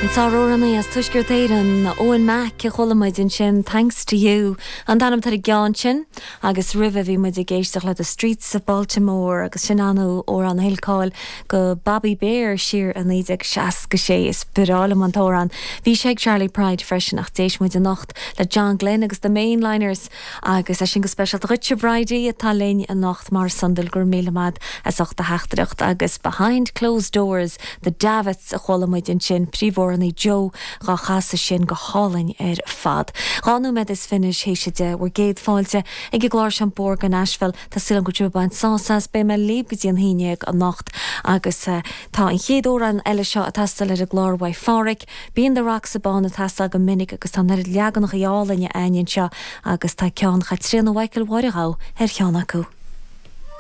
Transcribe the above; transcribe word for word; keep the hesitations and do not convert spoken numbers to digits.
An sáramhránaí as Tuaisceart Éireann Eoin Mack a chuala muid ansin Thanks to You an t-ainm atá ar an gceann sin agus roimhe bhí muid ag éisteacht le The Streets of Baltimore agus sin an amhrán a thuill cáil do Bobby Bare siar i naoi déag seasca sé is breá liom an t-amhrán. Bhí sé ag Charley Pride freisin ach d'éist muid anocht le John Glenn agus the Mainliners agus é sin go speisialta dhuit Bridie atá linn anocht mar sandal gur míle maith as ucht do theachtaireacht agus Behind Closed Doors the Davits a chuala muid ansin príomhamhránaí Joe dhá chasadh sin go hálainn ar fad. Dhá nóiméad is fiche théis a deich bhur gcéad fáilte ag an gclár seo Bóthar go Nashville Tá súil agam go bhfuil sibh ag baint sásamh as beidh mé libh go dtí an haon déag anocht agus uh, tá an chéad amhrán eile seo ag teastáil ar an gclár uaidh Pháraic, Bíonn The Rocks Abán ag teastáil go minic agus tá na leaganacha álainne againn anseo agus tá ceann Chaitríona Mhichael Mháire Ghabh ar cheann acu.